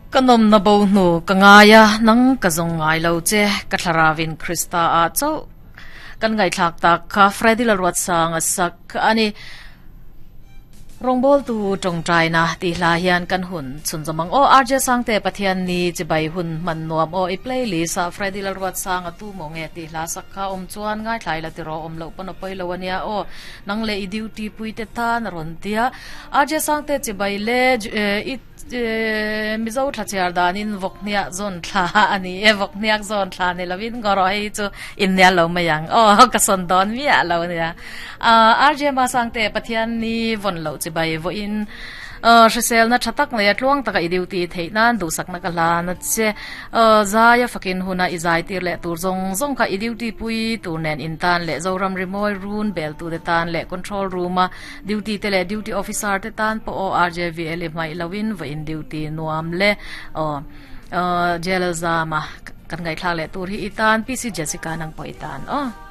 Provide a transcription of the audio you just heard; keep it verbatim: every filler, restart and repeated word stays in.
Ka nawm na bo hnu ka ngai a, nang ka zawng ngai lo che, ka thlaravin Krista ah chauh kan ngaihthlak tak kha Freddy Lalruatsanga sak a ni. Rawngbawltu tawngtaina tih hla hian kan hun chhun zawm ang aw. R J Sangte Pathian ni chibai hun hman nuam aw i playlist ah Freddy Lalruatsanga tu maw nge tih hla sak kha awm chuan ngaithlai la tiraw awm loh pawn a pawi lo ania aw. Nang leh i duty pui te tan a rawn tia. R J Sangte chibai le i Mizo thlachiar danin vawkhniak zawn thla a ni e, vawkhniak zawn thla ni lovin ngaw hei chu innial lo mai ang aw ka sawn dawn miah lo nia. R J Masangte Pathian ni vawn loh chibai vawiin hriselna tha tak nei a tluang taka i duty theih nan duhsakna ka hlan a che. Zaia fakin huna i zai tir leh tur zawng zawng kha i duty pui tur nen intan leh Zoram Rimawi run bel tute tan leh control room a duty te leh duty officer te tan pawh aw R J V L i hmaih loin vawiin duty nuam le aw J L Zama kan ngaihthlak leh tur hi i tan P C Jessica nang pawh i tan aw.